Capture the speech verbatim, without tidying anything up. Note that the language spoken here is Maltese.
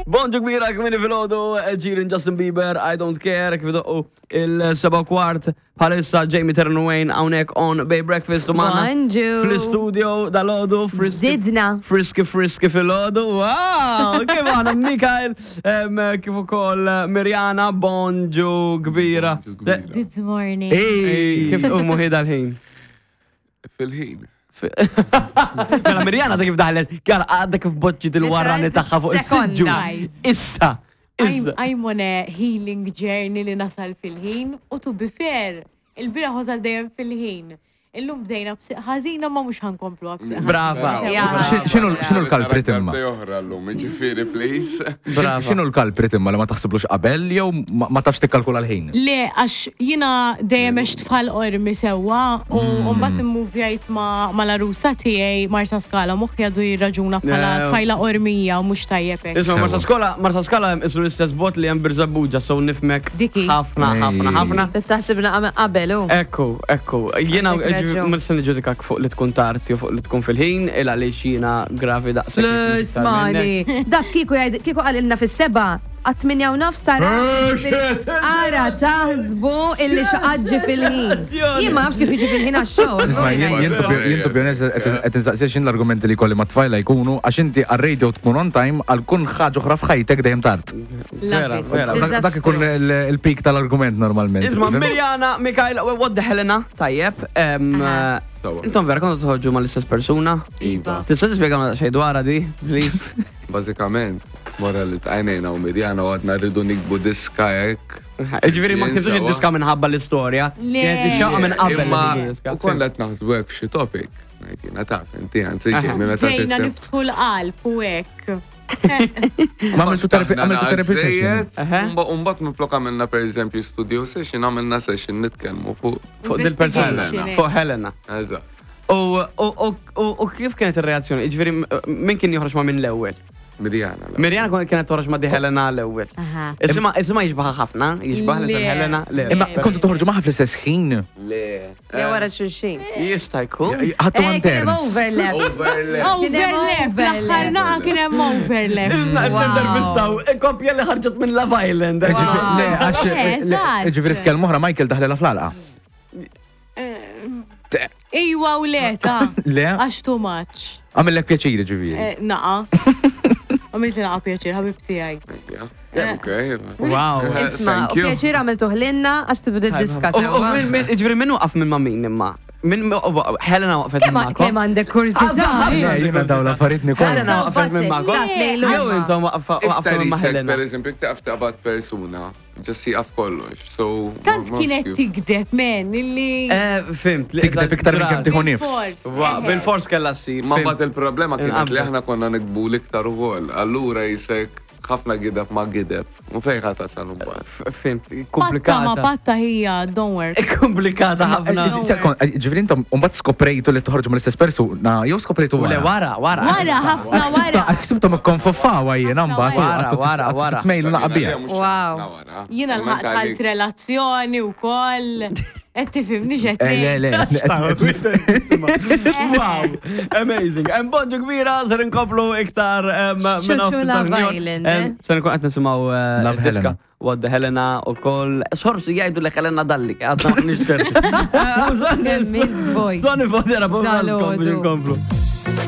Bonġu kbira kmini filgħodu, Ġirin Justin Bieber, I Don't Care, kif doqqu il-seba kwart bħalissa Jamie Terran Wayne hawnhekk on Bay Breakfast u magħna Bonġu. fl-istudio dalgħodu friski. Zidna. Friski friski filgħodu, wow! Kif għana Mikael, em, kif ukoll Mirjana, bonġu kbira. Bonġu kbira. Good morning. Ej, Kif tqumu ħida l-ħin? Fil-ħin. Mela Mirjana ta' kif daħlet, kjar għadha kif boċċi il-warrani tagħha fuq is-siġġu. Sekonda. Issa, I'm, issa. I'm on a healing journey li nasal fil-ħin u to be fair, il-bieraħ wasal dejjem fil-ħin. Illum bdejna b'siq ħażina ma mhux ħankomplu b'siq ħażina. Brava. Ja. X'inhu x'inhu l-culprit imma? Darbtej oħra llum, jiġifieri, please. Brava. X'inhu l-culprit imma li ma taħsiblux qabel jew ma ma tafx tikkalkula l-ħin? Le, għax jina dejjem għext f'Ħal Qormi sewwa u mbagħad immuvjajt ma' mal-għarusa tiegħi Marsa Skala moħħi għadu jirraġuna bħala Le. tfajla Qormija u mhux tajjeb hekk. Isma' Marsa Skola, Marsa Skala ismu l-istess bot li hemm Birżebbuġa, so nifmek Diki. ħafna, ħafna, ħafna. Taħsibna qabel, u. Ekku, ekku, jiena Għandek raġun. ma nista' niġġudikak fuq li tkun tarti u fuq li tkun fil-ħin, il għaliex jiena gravi daqshekk. Le, smani. Dak kieku jgħid, kieku qalilna fis-seba, għat-tminja u nofs sara. Ara, taħsbu illi xaqadġi fil-ħin. Jien ma nafx kif jiġi fil-ħin għax-xogħol. Isma' jien jien to be- jien to be honest qed insaqsija x'in l-argumenti li kolli ma' tfajla jkunu għax inti għar-radio tkun on time għal kun ħaġa oħra f'ħajtek dejjem tard. Vera, Love it. vera. Dak dak ikun il- il-peak tal-argument normalment. Isma' Mirjana, Mikael, what the Helena, tajjeb. em, Aha. Sawa. Intom vera kontu toħorġu mal-istess persuna? Iva. Tista' tispjega xejn dwarha di, please? Bażikament, wara li tqajnejna u Mirjana u għadna rridu nikbu diska hekk. Ġifieri ma ktibtux Sawa. id-diska minħabba l-istorja. Le. Kienet ix-xewqa minn qabel. Imma li tiktbu diska. u konna qed naħsbu hekk xi topic. Ngħid jiena taf, inti anzi Aha. Jamie meta Ġejna titkellem. niftħu l-qalb u hekk. Ma għamiltu therapy għamiltu therapy session. Aha. Umbat minflok għamilna per eżempju studio session, għamilna session nitkellmu fuq. Fuq dil-persuna. Investigation, Fuq Helena. Eżatt. U, u, u, u, u kif kienet ir-reazzjoni? Ġifieri, min kien joħroġ ma' minn l-ewwel? Mirjana. la. Mirjana kon- kienet toħroġ ma' di Helena l-ewwel. Aha. Isma isma jixbaħ ħafna, jixbaħ li Le. Helena. Le. Imma kontu toħorġu magħha fl-istess ħin. Le. Le wara xulxin. Jista' jkun. Ħattu Eh, għan kien hemm terms. overlap. Overlap. Kien hemm Overlap, l-aħħar naqa kien hemm overlap. Isna qed Wow. nintervistaw koppja li ħarġet minn Love Island. Wow. Le, għax Eh, le, eżatt. ġifieri f'kelma oħra Michael daħlela fl-għalqa. Iwa u le ta' Le, għax too much. għamillek pjaċiri ġifieri. Eh, Naqa. Għamilt naqa pjaċir, ħabib tiegħi. Ok. Wow. Isma, Thank u you. pjaċir għamiltu ħlinna għax tibdu d-diska U- U sewwa. min min ġifieri min waqaf minn ma' min imma? Min Helena waqfet minn Kemm magħkom? kemm għandek kurżità. Le, jiena dawn l-affarijiet nikol. Helena waqfet minn magħkom? Statnejlu. Jew intom waqfa- waqftu Iktar minn ma' isek, Helena. per eżempju, iktar taqbad persuna, ġassi għaf kollox. So, Tant ma- ma kienet kif. tigdeb, men, illi. Eh, Fimt. li Tikdeb iktar minn kemm tieħu nifs. Bil-fors. Wa- Bil-fors kellha ssir. Ma fimt. mbagħad il-problema kienet li Inqabdu. aħna konna nikbu l-iktar ukoll. Allura jisek ħafna gideb ma gideb. U fejn ħa tasal mbagħad. F- Fimt, Patta ma komplikata. patta hija, don't work. Komplikata ħafna. Sekond, ġifieri intom mbagħad skoprejtu li toħorġu mill-istess persuna, jew skoprejtu U le wara. wara, wara. Wara, ħafna wara. Ksibtom ikkonfoffawa jiena mbagħad u Wara, għattu wara, wara. titmejlu naqbija. Wow. Jiena l-ħaq tħalt relazzjoni u koll. Qed tifhimni x'qed Eh, Le, le, Wow, amazing. Hemm bonġu kbira, ser inkomplu iktar em, minn Xċuċu nofs Love tal-New York. Island, Em, eh? Ser nkun qed nisimgħu eh, Love diska Helena. What the Helena u koll. Sorsi jgħidu li Helena Dalli, għadna maħniex ċerti. Kemm int voice. Soni fodera, Dal-għodu. nkomplu.